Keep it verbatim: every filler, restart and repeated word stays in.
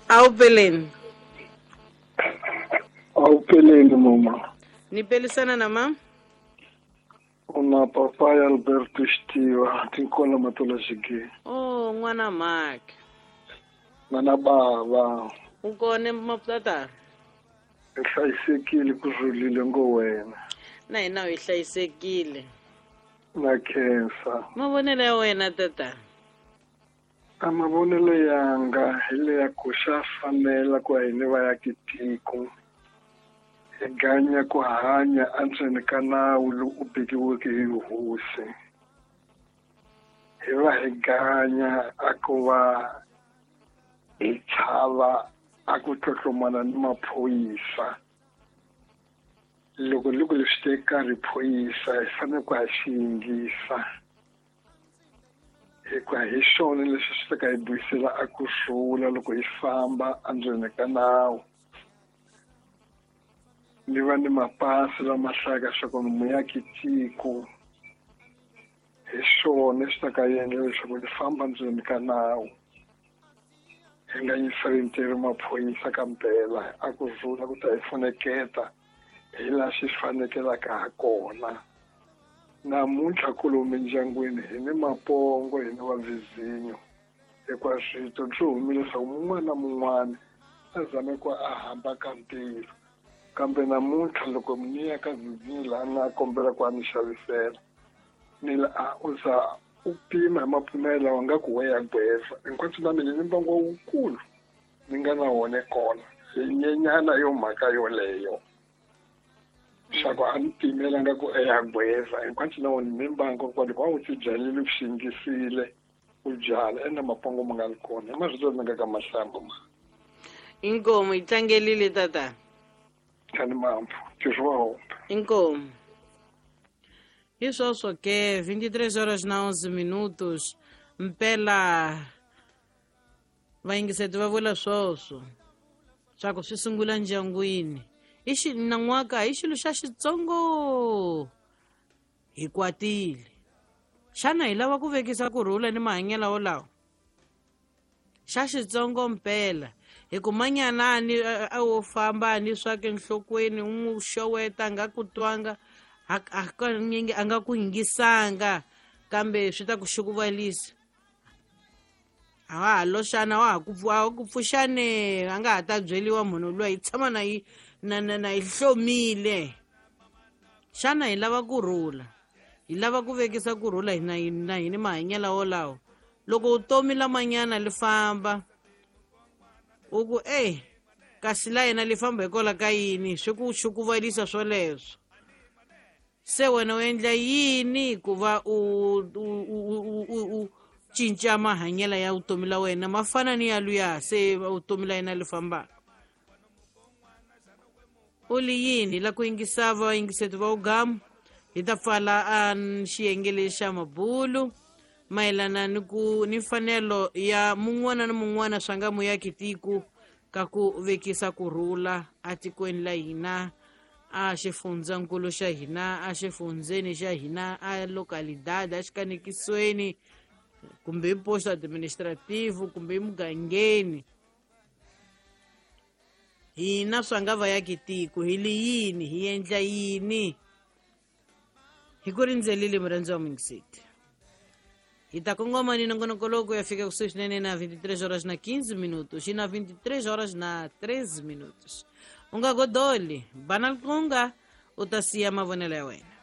Awupeleni. Awupeleni mama. Nipelisana na mama? Una papa Alberto Xtiva, tinkola matola xige. Oh, n'wana Mark. N'wana baba. U kona mapatata? Hi hlayisekile ku rhulile ngo wena. Na hina hi hlayisekile. Na khensa. Mavonelo ya wena tata? A mavonelo yanga hi leya ku xa fanela ku hina va ya tiko. Hi ganya ku hanya endzeni ka nawu lowu u vekiweke hi hosi. Hi va hi ganya a ku va hi chava a ku tlotlomana ni maphorisa. Loko loko leswi teka riphorisa hi fanele ku ha xi yingisa. Hikuva hi xona leswi swi ta ka hi vuyisela a ku rhula loko hi famba endzeni ka nawu. Ni va ni mapasi lama hlayaka leswaku ni muyaki tiko. Hi xona swi ta ka endla leswaku ni famba ndzeni ka nawu. Hi nga yingiseli maphorisa ka mpela a ku rhula ku ta hi pfuneketa hi laha xi fanekelaka ha kona. Namuntlha kolomu endyangwini hi ni mapongo hi ni vavizinyo hikuva swito swi humile leswaku mun'wana na mun'wana a zame ku a hamba ka ntirho. Kambe namuntlha loko ni ya ka vizinyo laha ni a kombela ku a ni xavisela ni la a u za u pima hi mapimelo lawa nga ku we ya gweza hinkwaswo na mina ni mbangu wukulu ni nga na wona kona hi nyenyana yo mhaka yoleyo. Swa ku a ni pimela nga ku ya gweza hinkwaswo na wona ni mbangu kwa loko a wu ti byalile u xi yingisile u byala ene mapongo ma nga ri kona hi marito ni nga ka mahlambo ma. Inkomu yi tlangelile tata. Tani mampfu ntirho wa hombe. Inkomu. Hi sweswo ke vinte e três horas na onze minutos mpela vayingiseti va vula swoswo swa ku swi sungula ndyangwini. I xi nan'waka i xilo xa xitsongo hi kwatile. Xana hi lava ku vekisa ku rhula ni mahanyelo wolawo? Xa xitsongo mpela hi ku manyanani a wo famba ni swa ke nhlokweni u n'wi xoweta a nga ku twanga hakanyingi a nga ku yingisanga kambe swi ta ku xukuvalisa. A wa ha loxana wa ha ku ku pfuxane a nga ha ta byeliwa munhu luya hi tshama na yi na na na yi hlomile. Xana hi lava ku rhula? Hi lava ku vekisa ku rhula hina na hina mahanyelo wolawo? Loko vutomi lamanyana li famba u ku e kasi la yena li famba hikwalaho ka yini swi ku xukuvalisa swoleswo. Se wena u endla yini ku va u u u cinca mahanyelo ya vutomi la wena ma fana ni ya luya se vutomi la yena li fambaka? U li yini la ku yingisa vayingiseti va ugamu hi ta pfala a xiyenge lexi xa mabulu mayelana ni ku ni mfanelo ya mun'wana na mun'wana swa nga muyaki tiko ka ku vekisa ku rhula atikweni la hina a xifundzankulu xa hina a xifundzeni xa hina a localidade a xikanekisweni kumbe hi posto administrativo kumbe emugangeni. Hina swa nga vayaki tiko hi li yini hi endla yini? Hi ku rindzelile murhandzi wa muyingiseti. Hi ta kongoma ni nongonoko lowu ku ya fika kusuhi swinene na vinte e três horas na quinze minutos e na vinte e três horas na treze minutos. U nga godoli, bana liqunga u ta siya mavonelo ya wena.